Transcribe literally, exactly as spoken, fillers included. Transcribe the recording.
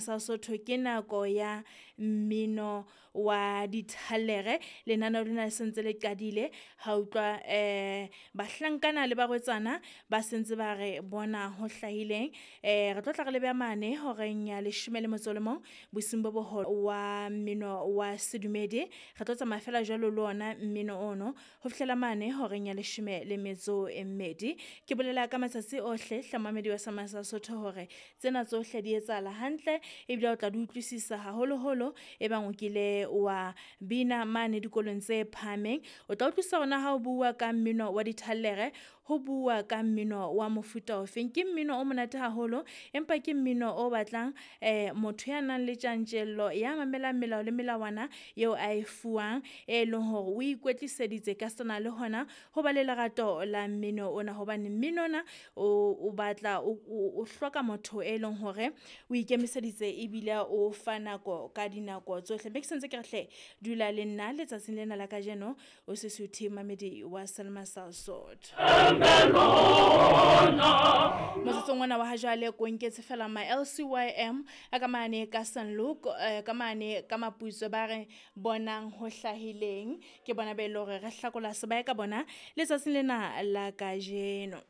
Sesotho ke nako ya mmino wa dithalere. Lenaneo lena le sentse le qadile ha utlwa eh bahlankana le barwetsana ba sentse ba re bona ho hlahileng. Eh re tlo tla re lebe mane horeng ya leshome le motso le mong bosiung bo boholo wa mmino wa sedumedi. Re tlo tsamaya fela jwalo le ona mmino ono ho fihlela mane horeng ya leshome le metso e mmedi. Ke bolela ka matsatsi ohle hle momamedi wa Sesotho hore tsena tsohle di etsahala hantle ebile o tla di utlwisisa haholoholo e bang o kile wa bina mane dikolong tse phahameng. O tla utlwisisa hore na ha o bua ka mmino wa dithalere, ho bua ka mmino wa mofuta ofeng. Ke mmino o monate haholo empa ke mmino o batlang eh motho ya nang le tjantjello, ya mamelang melao le melawana eo a e fuwang, e leng hore o ikwetliseditse ka sena le hona ho ba le lerato la mmino ona. Hobane mmino ona o o batla o o hloka motho e leng hore o ikemiseditse ebile o fa nako ka dinako tsohle. Be ke sentse ke re hle dula le nna letsatsing lena la kajeno o se suthe momamedi wa Selma sa Sotho. Motsotsong ona wa ha jwale ko nketse fela ma L C Y M a ka mane ka Saint Luke, eh, ka mane ka Maputso ba re bonang ho hlahileng. Ke bona be le hore re hlakola sebae ka bona letsatsing lena la kajeno.